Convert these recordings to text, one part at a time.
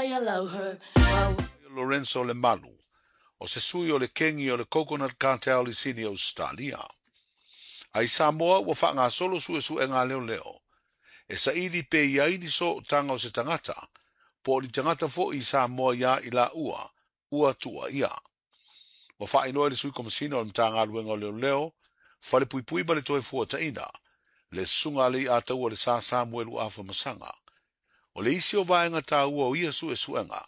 long I allow her. Lorenzo Lemalu, o se sui o le kengi o le Coconut Cartel i Sini Ausetalia. A i Samoa ua faagasolo suesuega a leoleo e saili pe i ai ni sootaga o se tagata po o ni tagata foi i Samoa iā i laua ua tuuaia. Ua faailoa e le Sui Komesina o le Matagaluega o Leoleo, Falepuipui ma le Toefuataiga, le Susuga a Leiataualesa Samuelu Afamasaga. O le isi o vaega taua o ia suesuega,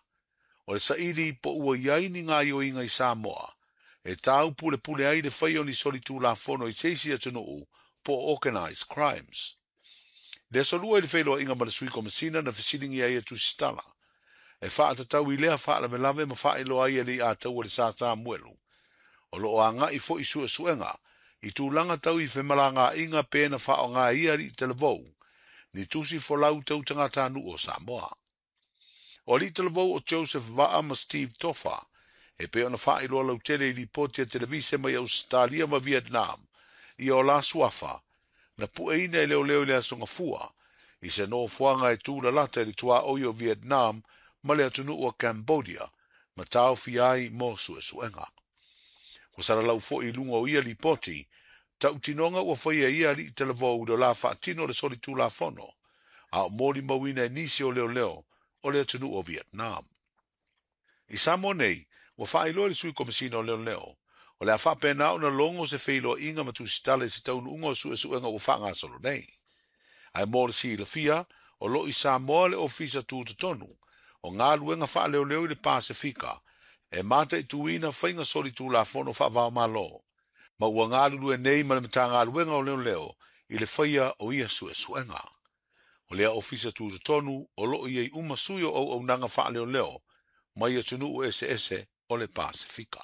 o le saili po ua i ai ni gaoioiga i Samoa e taupulepule ai le faia o ni solitulafono i se isi atunuu po o organized crimes. I le aso Lua i le feiloaiga ma le Sui Komesina na fesiligia ai e Tusitala e faatatau i lea faalavelave ma faailoa ai e Leiataualesa Samuelu o lo o agai foi suesuega i tulaga tau i femalagaaiga pe na faaaoga e ia alii talavou ni tusi folau tau tagatanuu o Samoa. O alii talavou o Joseph Vaa ma Steve Tofa e pei ona faailoa lautele i lipoti a televise mai Ausetalia ma Vietnam ia o la suafa na pueina e leoleo i le Aso Gafua i se nofoaga e tulalata i le tuaoi o Vietnam ma le atunuu o Cambodia ma taofia ai mo suesuega. Ua salalau foi i luga o ia lipoti tautinoga ua faia e ia alii talavou i le la faatino o le solitulafono a o molimauina e nisi o leoleo o le atunuu o Vietnam. I Samoa nei, ua faailoa e le Sui Komesina o Leoleo, o le a faapena ona logo se feiloaiga ma tusitala i se taunuuga o suesuega ua faagasolo nei. Ae mo le silafia, o lo o i Samoa le Ofisa Tutotonu o Galuega Faaleoleo i le Pasefika e mataituina faiga solitulafono faava-o-Malo, ma ua galulue nei ma le Matagaluega o Leoleo i le faia o ia suesuega. O lea Ofisa Tutotonu o lo o i ai uma sui o auaunaga faaleoleo mai atunuu eseese o le Pasefika.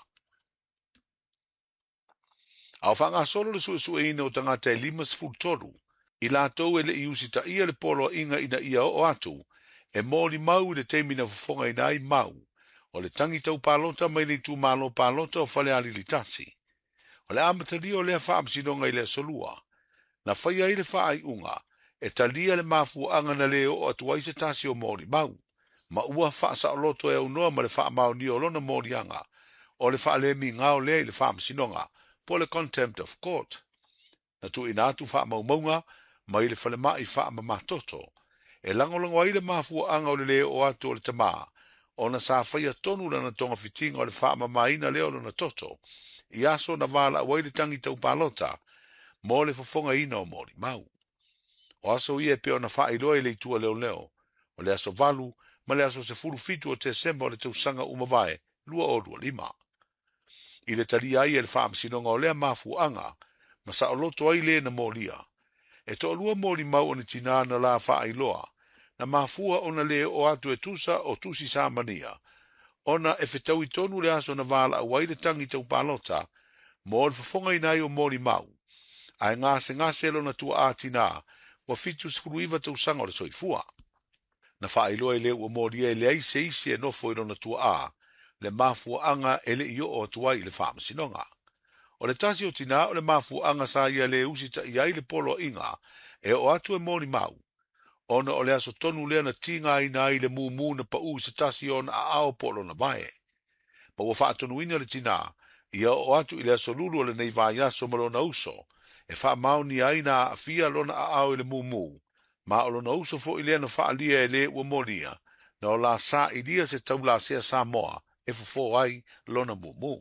A o faagasolo le suesueina o tagata e 53 i latou e le i usitaia le poloaiga ina ia oo atu e molimau i le taimi na fofogaina ai mau o le tagi tau palota mai le itumalo palota o Falealili 1. O le amatalia o lea faamasinoga i le Aso Lua, na faia ai le faaiuga e talia le mafuaaga na le oo atu ai se tasi o molimau, ma ua faasaoloto e aunoa ma le faamaonia o lona moliaga o le faalemigao lea i le faamasinoga po o le contempt of court. Na tuuina atu faamaumauga mai le falemai faamamatoto e lagolago ai le mafuaaga o le le oo atu o le tamā ona sa faia tonu lana togafitiga o le faamamaina lea o lona toto i aso na valaau ai le tagi tau palota mo le fofogaina o molimau. O aso ia e pei ona faailoa i le itu a leoleo, o le aso 8 ma le aso 17 o Tesema o le tausaga ua mavae 2025. I le talia ai e le faamasinoga o lea mafuaaga ma saoloto ai le na molia. E toalua molimau o ni tinā na la faailoa, na mafua ona le oo atu e tusa o tusi Samania, ona e fetaui tonu le aso na valaau ai le tagi tau palota mo le fofogaina ai o molimau, ae gasegase lona tuaa tinā ua 79 tausaga o le soifua. Na faailoa e le ua molia e leai se isi e nofo i lona tuaa le mafuaaga e le i oo atu ai i le faamasinoga. O le tasi o tinā o le mafuaaga sa ia le usitaia ai le poloaiga e oo atu e molimau, ona o le aso tonu lea na tigaina ai le mumu na pau i se tasi o ona aao po o lona vae. Ma ua faatonuina le tinā ia oo atu i le aso lulu o lenei vaiaso ma lona uso, e faamaonia ai na aafia lona aao i le mumu, ma o lona uso foi lea na faaalia e le ua molia, na o la sailia se taulasea Samoa e fofo ai lona mumu.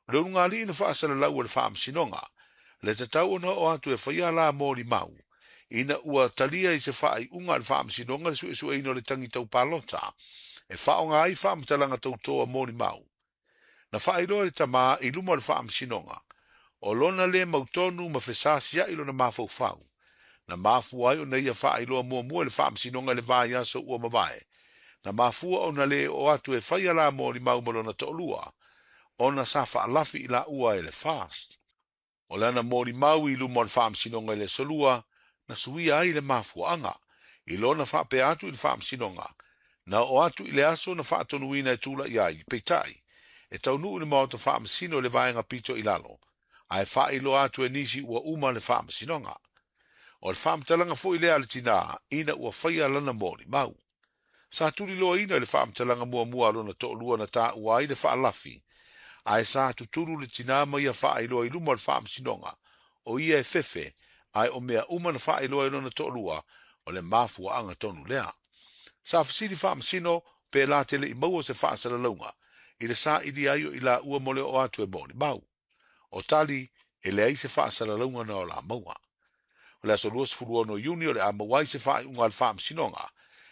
O le ulugalii na faasalalau e le faamasinoga, le tatau ona oo atu e faia la molimau, ina ua talia i se faaiuga a le faamasinoga le suesueina o le tagi tau palota, e faaaoga ai faamatalaga tautoa molimau. Na faailoa e le tamā i luma o le faamasinoga, o lona le mautonu ma fesasiai lona mafaufau, na mafua ai ona ia faailoa muamua i le faamasinoga i le vaiaso ua mavae, na mafua ona le oo atu e faia la molimau ma lona toalua, ona sa faalafi i laua e le FAST. O lana molimau i luma o le faamasinoga i le Aso Lua, na suia ai le mafuaaga, i lona faapea atu i le faamasinoga, na oo atu i le aso na faatonuina e tulai ai, peitai, e taunuu i le maota faamasino i le vaega pito i lalo, ae faailoa atu e nisi ua uma le faamasinoga. O le faamatalaga foi lea a le tinā ina ua faia lana molimau. Sa tuliloaina i le faamatalaga muamua a lona toalua na taua ai le faalafi, ae sa tutulu le tinā ma ia faailoa i luma o le faamasinoga, o ia e fefe, ae o mea uma na faailoa e lona toalua, o le mafuaaga tonu lea. Sa fesili faamasino pe la te le i maua se faasalalauga i le sailia ai o i laua mo le oo atu e molimau. O tali, e leai se faasalalauga na o la maua. O le aso 26 Iuni o le a maua ai se faaiuga a le faamasinoga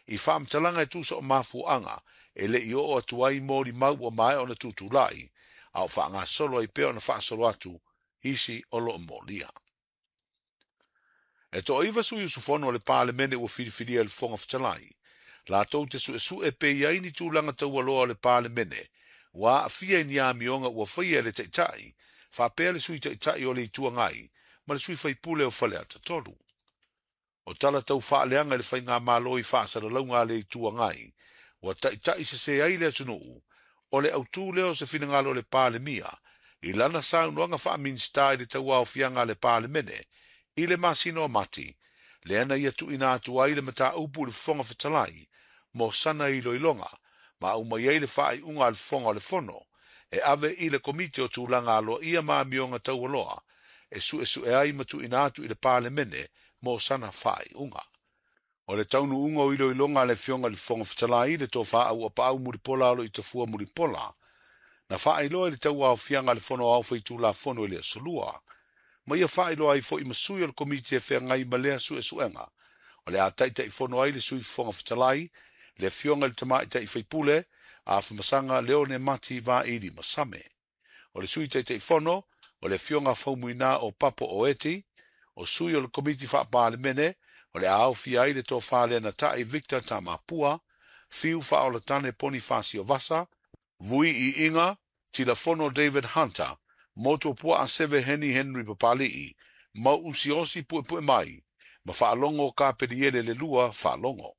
i faamatalaga e tusa o mafuaaga e le i oo atu ai molimau ua maea ona tutulai, a o faagasolo ai pea ona faasolo atu isi o loo molia. E toaiva sui usufono o le Palemene ua filifilia e le Fofoga Fetalai, latou te suesue pe i ai ni tulaga taualoa o le Palemene ua aafia i ni amioga ua faia e le Taitai, faapea le Sui Taitai o le Itu Agai ma le sui faipule o Faleata 3. O tala tau faaleaga i le faigamalo i faasalalauga a le Itu Agai, ua taitai sese ai le atunuu, o le autū lea o se finagalo o le Palemia i lana saunoaga faa-Minisita i le tauaofiaga a le Palemene i le masina o Mati, lea na ia tuuina atu ai le mataupu i le Fofoga Fetalai mo sana iloiloga, ma aumai ai le faaiuga a le Fofoga o le Fono e ave i le Komiti o Tulaga Aloaia ma Amioga Taualoa e suesue ai ma tuuina atu i le Palemene mo sana faaiuga. O le taunuuga o iloiloga a le Afioga i le Fofoga Fetalai, le Tofa Auapaau Mulipola Aloitafua Mulipola, na faailoa i le tauaofiaga a le Fono Aoao Faitulafono i le aso Lua, ma ia faailoa ai foi ma sui o le Komiti e feagai ma lea suesuega, o le a taitaifono ai le Sui Fofoga Fetalai, le Afioga i le Tamaitai Faipule, Afamasaga Leone Mati Vaili Masame. O le Sui Taitaifono, o le Afioga Faumuina o Papo Oeti, o sui o le Komiti Faa-Palemene, o le a aofia ai le Tofa Lenatai Victor Tamapua, Fiu Faaolatane Ponifasio Vasa, Vui Iiga, Tilafono David Hunter, Motuopuaa Seve Heni Henry Papali'i, Mauusiosi Puepue Mai, ma Faalogo Kapeliele le Lua Faalogo.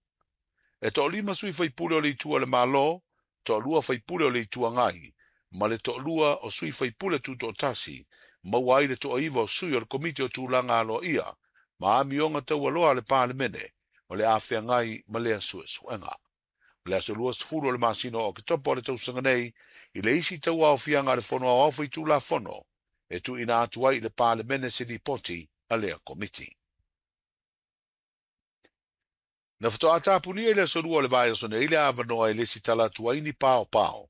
E toalima sui faipule o le Itu a le Malo, toalua faipule o le Itu Agai, ma le toalua o sui faipule tutoatasi, maua ai le toaiva o sui o le Komiti o Tulaga Aloaia ma Amioga Taualoa a le Palemene o le a feagai ma lea suesuega. O le aso 20 o le masina o Oketopa o le tausaga nei, i le isi tauaofiaga a le Fono Aoao Faitulafono e tuuina atu ai i le Palemene se lipoti a lea Komiti. Na faatoa tapunia i le aso Lua o le vaiaso nei le avanoa e lesitala atu ai ni paopao,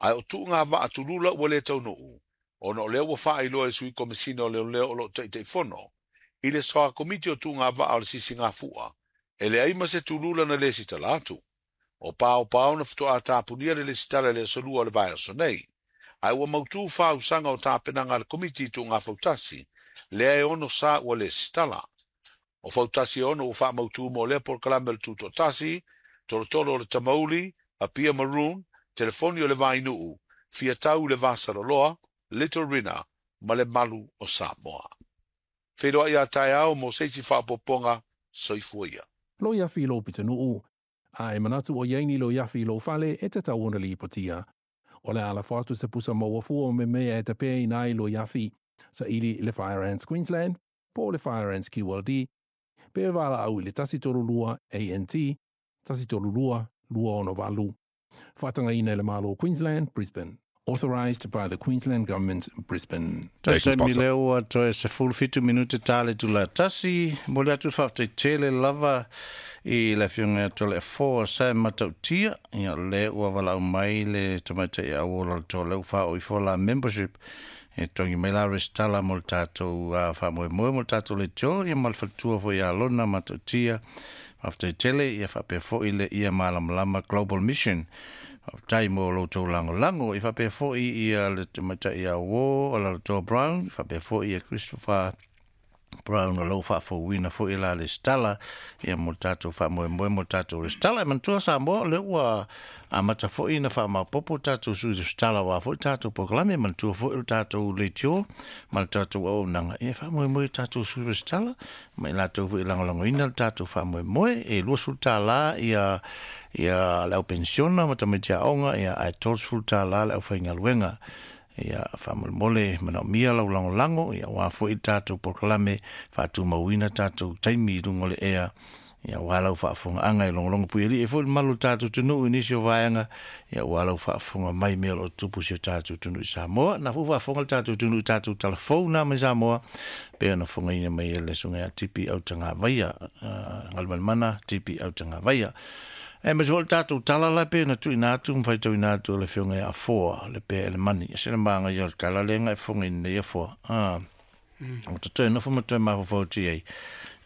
ae o tuuga vaa tulula ua le taunuu, ona o lea ua faailoa e le Sui Komesina o Leoleo o loo Taitaifono i le Soa Komiti o Tuuga Vaa o le Sisigafua, e leai ma se tulula na lesitala atu. O paopao na faatoa tapunia le lesitala i le aso Lua o le vaiaso nei, ae ua mautū fausaga o tapenaga a le Komiti i Tuuga Fautasi, lea e ono sa ua lesitala. O fautasi e ono ua faamautū mo lea polokalame o le Tutoatasi, Tolotolo o le Tamauli, Apia Maroon, Telefoni o le Vainuu, Fiatau i le Vasaloloa, Little Rina, ma le Malu o Samoa. Feiloai a taeao mo se isi faaopoopoga, soifua ia. Loiafi i lou pitonuu, a e manatu o i ai ni loiafi i lou fale e tatau ona lipotia. O le a lafo atu se pusa maua fua o memea e tapeaina ai loiafi, saili i le Fire Ants Queensland po o le Fire Ants QLD, pe valaau i le 132 ANT 132 268. Faatagaina e le Malo o Queensland, Brisbane. Authorised by the Queensland Government, Brisbane. Station Taimi sponsor. lea ua toe 17 minute ta le itula tasi. Momoli atu le faafetai tele lava i le Afioga ia Toleafoa Sam Matautia, ia o lea ua valaau mai le tamaitai auola o le toa lea ua faaoo ifo la membership e togi mai la resitala mo le tatou faamoemoe mo le tatou leitio, ia ma le faletua foi ia Lona Matautia. Faafetai tele, ia faapea foi le ia Malamalama Global Mission. Faafetai mo lo outou lagolago. I faapea foi ia le tamaitai ia uō o Lalotoa Brown, faapea foi ia Christopher Brown o lou faafouina foi la resitala ia mo le tatou faamoemoe mo le tatou resitala. E manatua Samoa o lea ua amata foi ona faamaopoopo tatou sui resitala aua foi tatou polokalame. E manatua foi o le tatou leitio ma le tatou auaunaga ia e faamoemoe i tatou sui resitala ma i latou foi e lagolagoina le tatou faamoemoe. E $20 ia ia le au penisiona ma tamaiti aoga, ia ae $30 le aufaigaluega. Ia faamolemole manaomia lau lagolago ia aua foi le tatou polokalame faatumauina tatou taimi i luga o le ea. Ia aua lau faafofogaaga e logologo puialii ai foi le mamalu o le tatou atunuu i nisi o vaega, ia aua lau faafofoga mai i mea o lo o tutupu i si o tatou atunuu i Samoa. Na foi faafofoga le tatou atunuu i tatou talafou na mai Samoa, pei ona fofogaina mai e le Susuga ia Tipi Autagavaia, Galumalemana Tipi Autagavaia. Aemaise foi le tatou tala la pei ona tuuina atu ma faitauina atu e le Afioga ia Afoa le Pea Elemani. E se le magaia o le tala lea na e fofogaina nei Afoa. O te toe nofo ma toe mafaufau atu i ai,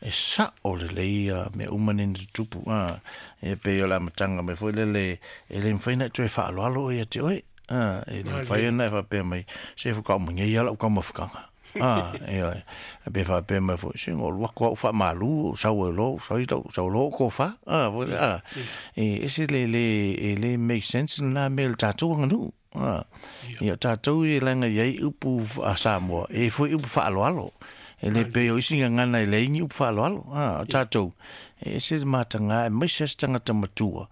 e sa'o lelei ia mea uma nei na tutupu, a, e pei o le amataga mai foi lele, e le mafai ona e toe faaaloalo oe ia te oe, a, e le mafai ona e faapea mai, se faatoa uma nei lava lau taumafataga, a, ioe, pe faapea mai foi, se na ou alu atu lava ou faamalu, ou sau ai loa, ou fai lau, sau loa ou tofa, a, foi lea, a, e ese le le, e le make sense lena mea i le tatou aganuu. Ia o tatou ia leaga e i ai upu a Samoa, e i ai foi upu faaaloalo. E le pei o isi gagana e leai ni upu faaaloalo. O tatou, e ese le mataga aemaise lava se tagata matua,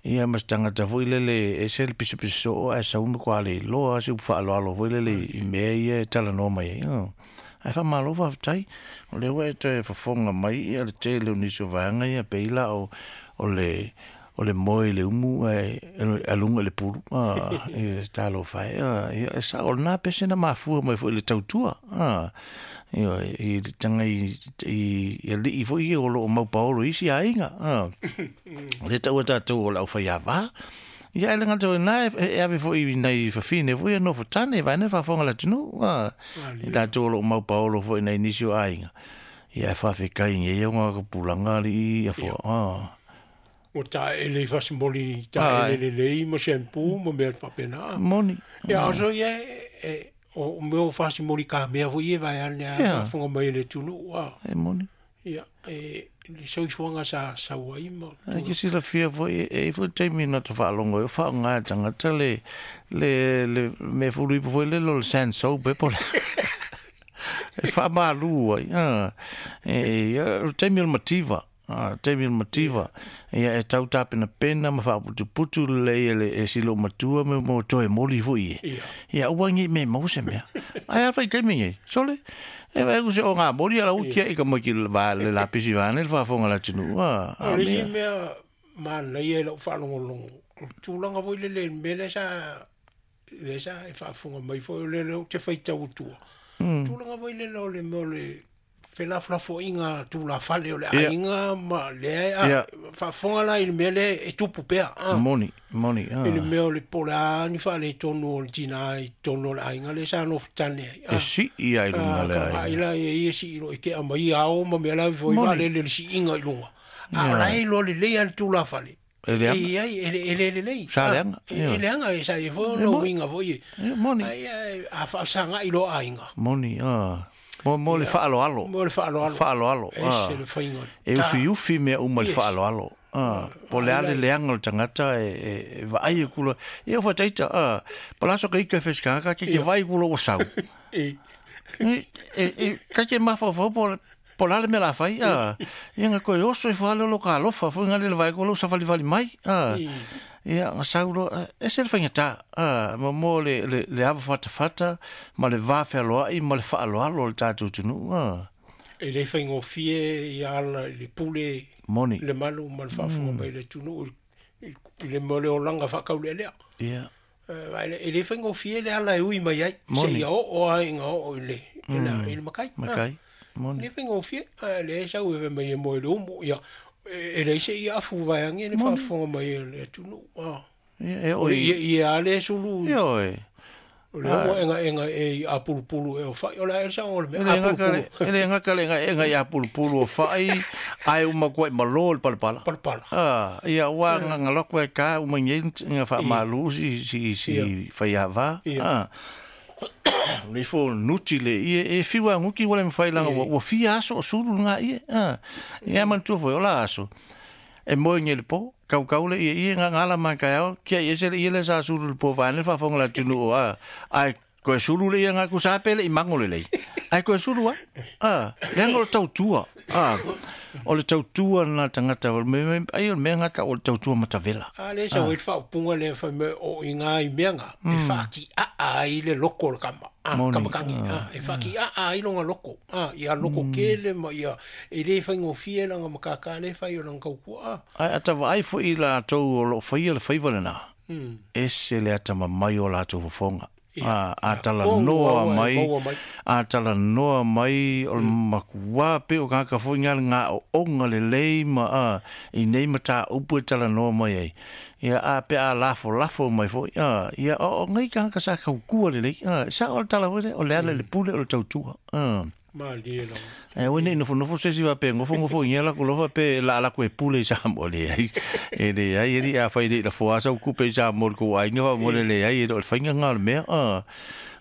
ia ma se tagata foi lele e ese le pisapisa soo ae sau matua le iloa se upu faaaloalo foi lele i mea ia e talanoa mai ai. Ae faamalo faafetai, o lea ua e toe fofoga mai ia le tele o nisi o vaega ia pei la o le o le moe i le umu ae aluga i le pulu, e talofa e, ia, e sao, o lena pese na mafua mai foi i le tautua, ioe, i le taga i alii foi ia o lo o maupaolo i isi aiga, o lea e taua e tatou o le aufaiava, ia ae le gata o lena, e ave foi i nai fafine foi ia nofo tane, vaeane le faafofoga a le atunuu, i latou o lo o maupaolo foi i nai nisi o aiga, ia e faafetai i nei ona tupulaga alii afoa. Ua taele i fasimoli taele lelei ma shampoo ma mea faapena. Moni. Ia a so ia e o mea o fasimoli ka mea foi e vaeane a faafofoga mai e le atunuu a. E moni. Ia e le soifuaga sa sau ai ma. E ke silafia foi e i foi taimi na ta faalogo ai o faaaoga e le tagata le le le mea fulu ipu foi lele o le sand soap e po o le e faamalu ai a e o le taimi o le mativa. A, taimi o le mativa, ia e tau tapenapena ma faaputuputu lelei e le e si loomatua me mo toe moli foi e. Ia aua nei me maua se mea. Ae a fai taimi nei, sole, e vaai atu se o ngā moli ala uki ai ka mai ki le va le lapisi vaeane le faafofoga a le atunuu, a, a O le isi mea manaia i lau faalogologo, o le tulaga foi lele i le mea lea sa lea sa e faafofoga mai foi o lea ou te faitau atua. Tulaga foi lele o le mea o le felafolafoaiga tulafale o le aiga ma lea e faafofoga la i le mea lea e tupu pea. Moni, moni. I le mea o le po o le a ni faaletonu o le tina i totonu o le aiga lea sa nofo tane ai. E sii ai i luga le aiga. Ai la e ia sii loa i tea mai ao ma mea la foi vaalele le siiga i luga. A o la e iloa lelei lava le tulafale. E leaga. E i ai, e le lelei. Sa leaga. E leaga, e sa i ai foi ona uiga foi. E moni. Ai, a faasagai loa aiga. Moni, a. Mo, mo le faaaloalo. Mo le faaaloalo. Faaaloalo. Ese le faiga. E ufiufi mea uma i le faaaloalo. A, po o le a le leaga o le tagata e vaai atu loa. Ia ua faataita, a, po o le a so ka ika e fai se tagata, ke te vaai atu loa ua sau. E. E, ka te mafaufau po o Po o le a le mea o le a fai, a, ia na toe oso ifo lava lea o lo ta alofa foi na le vaai atu o lou savalivali mai, a, ia na sau loa, e ese le faigata, a, mo, mo le, le, le ava fatafata ma le va fealoai ma le faaaloalo o le tatou atunuu, a. E le faigofie ia ala i le pule, Moni. le malu ma le faafofoga mai a le atunuu i le mea o le olaga faataulealea. Ia. E le faigofie le ala e ui mai ai, seia oo lava ina oo i le, i le makai. Makai, moni. E le faigofie, a o lea e sau e fai mai e moe i le umu, ia, e leai se iafu vaeane le faafofoga mai a le atunuu. Ia, e oo i... O le ieie lava lea e sulu. Ioe. O lea ua egaega ea i apulupulu ea o fai. O le a ea le saoga o le mea apulupulu? E le gata le egaega i apulupulu o fai, ae uma atu ai ma lo le palapala. Palapala. Ia, ua agaga loa koe ka uma nei nga faamalu si, si, si faiava. Le ifo nuti le ie, e fiu a nguki ua le mawhai langa, ua fia aso o sulu nga ie. Ia manatua foi, o la aso. E moe nei le po, kaukau le ieie nga ngala mai kai ao, kia i ese le ie le sa sulu le po vaeane le faafofoga le atunuu a, ae koe sulu le ia nga ku sa pe le i mango lelei. Ai koe sulu a. Ah, leaga o le tautua. Ah, o le tautua na tagata o le me ai o le mea gata o le tautua matavela. A le sa wait fa upunga le fa me o i ngā i mea ngā, e whaaki a a i le loko le kama. A, kama kangi, a, e whaaki a a i longa loko. A, ia loko kele ma ia, e le whai ngofie langa makaka le whai o langa kaukua. A. Ai ata vaai foi i latou o loo faia le faiva lena. Ese le ata mamai o latou fofoga. A, a talanoa mai, a talanoa mai o le makuā pei o kāka foi ngā le gaoʻoga lelei ma a, i nei mataupu e talanoa mai ai. Ia, a pe a lafolafo mai foi, a, ia, o, o ngai kāka sa kaukua lelei, a, sa o le tala foi lea, o le ala i le pule o le tautua, a. Malie lava. E oi nei nofonofo se isi faapea gofogofo i lako lofa pe la lako e pule i Samoa leai. E leai e li a fai le lafoa sa kupe i Samoa ko ai nga mo le leai e le fainga nga le mea a.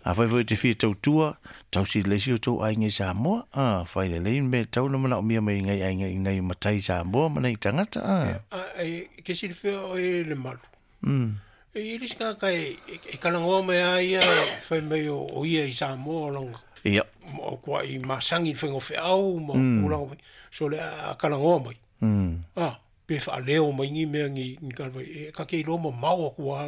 A fai foi te fia tautua, tausi le isi o tou aiga i Samoa, a fai lelei me tau na manaomia mai ngai aiga i nai matai Samoa ma nai tagata a. A e ke silafia oe le malu. E i le isi tagata e kalagoa mai a ia fai mai o ia i Samoa o langa. Ia. O kua i masangi i whainga wheau ma mm. Mai. So le a kalangoa mai. Ah, pe whaaleo mai ngi mea ngi ngi kalawai. E ka ke iloa ma mau aku a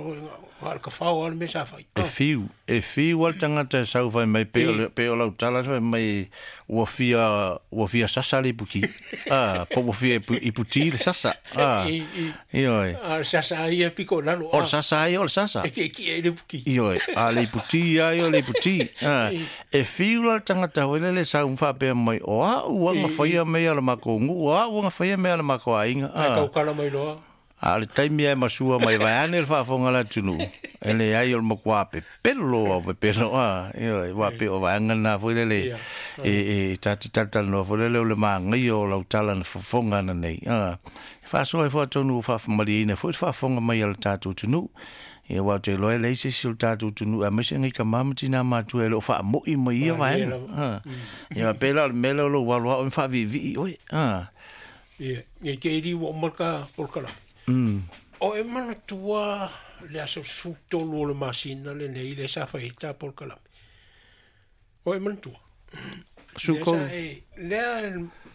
nga ka whao a le mea sa whai. E fiu, e fiu al tangata e sau whai mai pe o pe o lau tala whai mai ua fia ua fia sasa le ipuki. Ah, po ua fia iputi le sasa. Ah. Ioe. Ah, sasa ai e piko lalo. O le sasa ai o le sasa. E ke ki e le puki. Ioe, a le iputi ai o le iputi. Ah, e fiu la tangata hoi le sau whapea mai o a ua nga whaia mea le mako ngu, o a ua nga whaia mea le mako ainga. Ah. Ai kau mai loa. A le taimi ai masua mai vai ane le faafofoga le atunuu, e leai o le makuā pepelo au pepelo a, ioe, ua pei o vaega lena foi lele e ta te talatalanoa foi lele o le magaia o lau tala na fofoga ana nei, a. E faasoa ai foi atonu ua faafamalieina foi le faafofoga mai a le tatou atunuu. Ia, aua ou te iloa e leai se isi o le tatou atunuu aemaise ngai tama ma tinā matua e le o faamo'i mai ia vaega, a. Ia, pei la o le mea lea o lou alo a'o e faaviivii oe, a. Ia, nei te iri ua uma ka polokalame. O e manatua le aso 13 o le masina lenei le sa fai ai ta polokalame. O e manatua. Sukolu. Lea sa e, lea,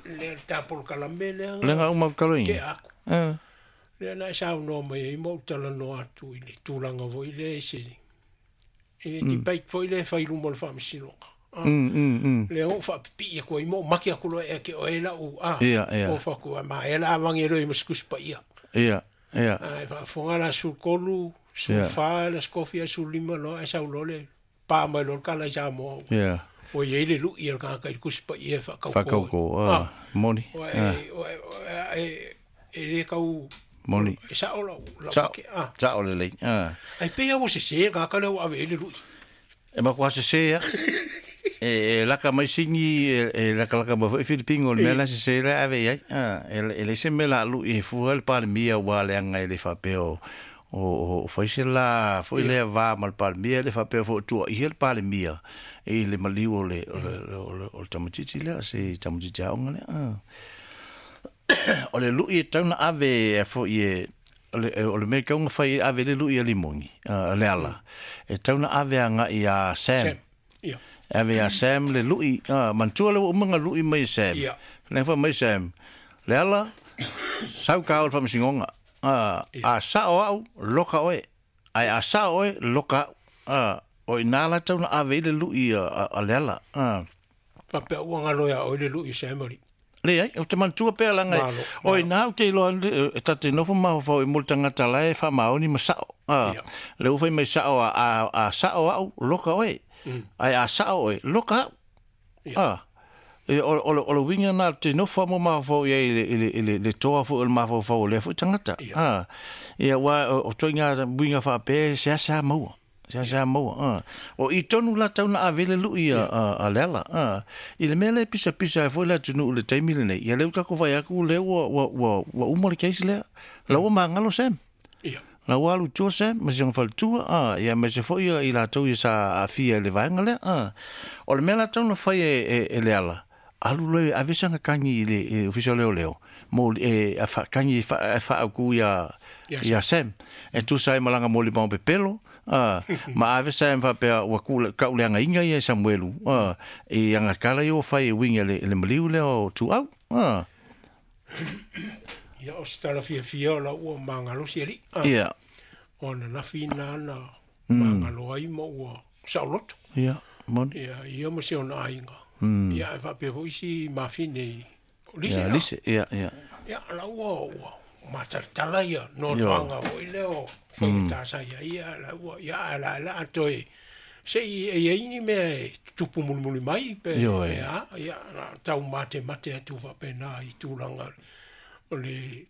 lea ta polokalame lea. Le nga uma kaloina. Ke aku. Lea na e saunoa mai ai ma ou talanoa atu i le tulaga foi lea i se, i le debate foi lea e fai i luma o le faamasinoga. Lea ua ou faapipii atu ai ma ou maki atu loa ea ke oe lau, a, Ia, ia. o faku, a ma ea la avangi e loe ma se tusi paia. Ia, ia. A e faafofoga la 13, 14, la 14, 15 loa ae sau loa le pa mai loa le kala i Samoa. Ia. Ua i ai le lui a le tagata i le tusi paia e faakaukō. Faakaukō, a, moni. Ua e, ua e, e le tau Moni. E sao lau, lau Sao, ake, a. sao lelei, a. Ai pei a ua sesē le tagata lea ua ave i ai le lui. E makuā sesē a. E, e laka mai sini, e, e lakalaka mai foi Filipino o le mea la sesē la ave i ai. A, e, e leai se mea la lui e fua le Palemia ua leaga e le faapea o, o, o fai se la foi lea va ma le Palemia, e le faapea foi o tuuaia le Palemia i le maliu o le, o le, o le, o le tamaitiiti lea, se tamaitiiti aoga lea. A. O le lui e tau na ave e foi e, o le, o le mea tau na fai e ave le lui a Limoni, le ala. E tau na ave agai a Sam. Sam. Ia. Ave a Sam le lui, manatua le ua uma nga lui mai e Sam. Ia. Le fa mai Sam, le ala, sau ka o le faamasinoga. A sao au, loka oe. Ai a sao oe, loka au. O ina la tau na ave i le lui a le ala. Faapea ua galo ia oe le lui Sam ali. Leai, ou te manatua pea laga e, Malo, o malo. ina ou te iloa e ta te nofo mafaufau i mo le tagata la e faamaoni ma sao. A, Ia. le ua fai mai sao a, a, a sao au, loka oe. Ai a sao oe, loka au. Ia. A, e, o, o, o le uiga na te nofo mo mafaufau i ai i le, i le, i le, le toa foi o le mafaufau o lea foi tagata. Ia. A, ia, ua, o, o toiga uiga faapea e seasea maua. Seasea maua, a. O i tonu la tau na ave le lui a, a, a le ala, a. I le mea lea e pisapisa ai foi le atunuu i le taimi lenei, ia lea ua tatou fai atu lea ua, ua, ua, ua uma le case lea. La ua magalo Sam. Ia. La ua alu i tua Sam, ma si ona faletua, a. Ia aemaise foi ia i latou ia sa aafia i le vaega lea, a. O le mea la tau na fai e, e, e le ala, Alu loa e ave saga kagi i le ofisa o leoleo mo e kagi e faauku ia ia Sam e tusa ai ma lana molimau pepelo ma ave Sam faapea ua kauleagaina ia e Samuelu i aga tala ia ua fai e uiga i le maliu lea o Tuau. Ia o se tala fiafia o lau ua magalosi alii. Ia. O ananafi ina na magalo ai ma ua saoloto. Ia, moni. Ia, ia ma si ona aiga. Ia, ae faapea foi isi mafine i o Lise. Ia, Lise, ia, ia. Ia, la ua ua matalatala ia noanoaga foi lea o faigata sa ia ia la ua ia ae la la toe se i e iai ni mea e tutupu mulimuli mai pe Ioe. a ia na tau matemate atu faapena i tulaga o le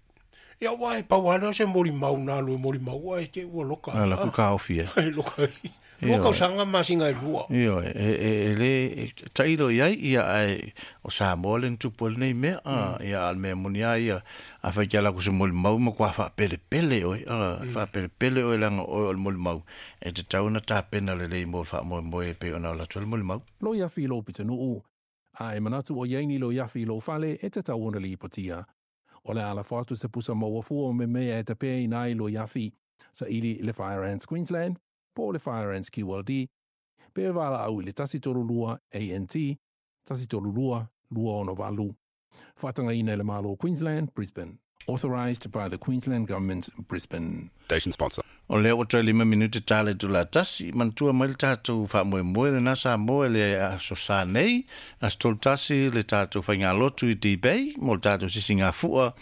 ia aua e pau lava lea o se molimau na alu e molimau ae te i ua loka A la ku kaofi e. E loka ai. Lua tausaga ma masina e lua. Ioe, e le tailo i ai, ia, ae o Samoa le na tupu ai lenei mea, ia, a o le mea moni lava ia, afai e te ala atu i se molimau, matua faapelepele oe, faapelepele oe leaga o oe o le molimau, e tatau ona tapena lelei mo le faamoemoe e pei ona alu atu ai le molimau. Loiafi i lou pitonuu, a e manatu o i ai ni loiafi i lou fale e tatau ona lipotia. O le a lafo atu se pusa maua fua o memea e tapeaina ai loiafi, saili i le Fire Ants Queensland, po o le Fire Ants QLD, pe valaau i le 132 ANT 132 268. Faatagaina e le Malo o Queensland, Brisbane. Authorised by the Queensland Government, Brisbane. Station sponsor. O lea ua toe 5 minute tala i itula tasi, manatua mai le tatou faamoemoe lena Samoa i le aso sa nei, aso 31 le tatou faigalotu i D-Bay mo le tatou sisigafua,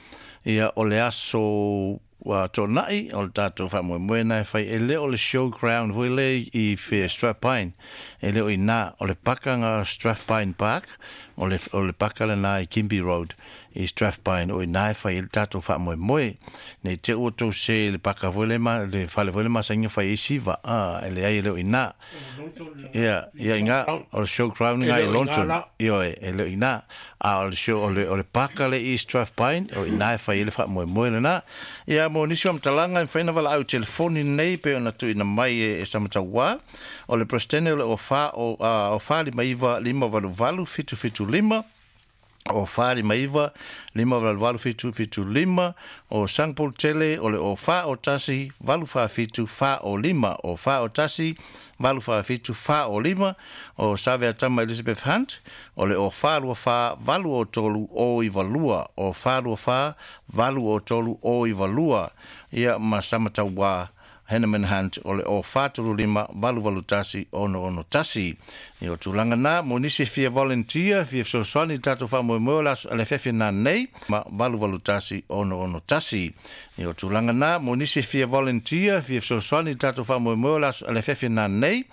ia o le aso ua tuanai o le tatou faamoemoe na e fai e le o le showground foi lea i Strathpine, e le o i ina, o le paka Strathpine Park, o le paka lena i Kimby Road i Strathpine, o i ina e fai ai le tatou faamoemoe. Nei te i ua tou se i le paka foi lea ma le fale foi lea masani ona fai ai siva, a, e leai e le o i ina. Ia, ia i ina, o le showground lena i Lawnton, ioe, e le o i ina. A o le show, o le, o le paka lea i Strathpine, o i ina e fai ai le faamoemoe lena. Ia, mo nisi faamatalaga, e mafai ona valaau i telefoni nei pei ona tuuina mai e Samatauā. O le Peresetene o le 04 o, a, 0459 588 775, o 459 588 775, o Sangpol Tele o le o 4 o 1 8 4 7 4 o 5, o 4 o 1 8 4 7 4 o 5, o Saveatama Elizabeth Hunt o le o 4 2 4 8 o 3 o 9 2, o 4 2 4 8 o 3 o 9 2, ia ma Samatauā Henneman Hunt o le o 435 881 661. Ia o tulaga na, mo nisi e fia volunteer, fia fesoasoani i le tatou faamoemoe o le aso le afiafi nanei, ma 881 661. Ia o tulaga na, mo nisi e fia volunteer, fia fesoasoani i le tatou faamoemoe o le aso le afiafi nanei,